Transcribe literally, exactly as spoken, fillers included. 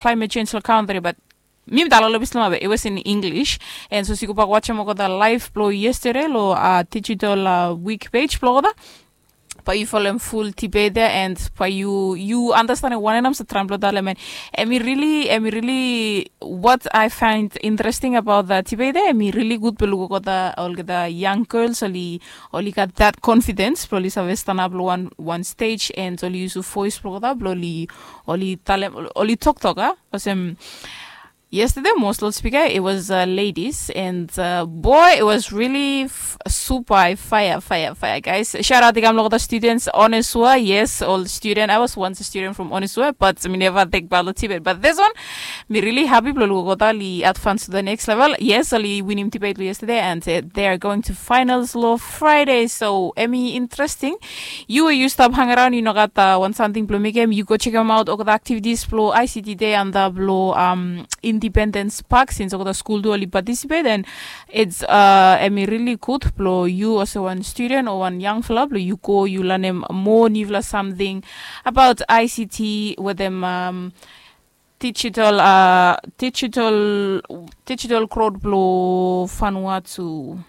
climate change lo country, but mi mi talem lo bisla mabe it was in English. And so si go bak watching olgeta live blo yesterday lo uh, digital uh, week page blo olgeta. But you follow him full debate there, and but you you understand one and I'm trying to tell him, and and we really and we really what I find interesting about that debate there, and we really good belugo the olgeta young girls oli oli got that confidence blo oli save stand up lo one one stage and oli use voice blo olgeta blo oli oli talem oli talk talk ah. Olsem yesterday most lo speaker it was uh, ladies and uh, boy it was really f- super fire fire fire guys. Shout out i kam lo olgeta students Onisua. Yes, ol student, I was once a student from Onisua, but mi neva tek balo debate, but this one mi really happy blo lugo olgeta oli advance to the next level. Yes, oli winim debate lo yesterday and uh, they are going to finals lo Friday, so hemi interesting. Yu we yu stap hang around yu no gat uh, wan samting blo mekem, yu go chekem aot olgeta activities blo I C T day antap lo um, Independence Park, since olgeta skul tu oli participate, and it's uh, hemi really good blo yu olsem wan student o wan yangfala blo yu go yu lanem moa nifala samting about I C T wetem um, digital uh, digital digital growth blo Vanuatu.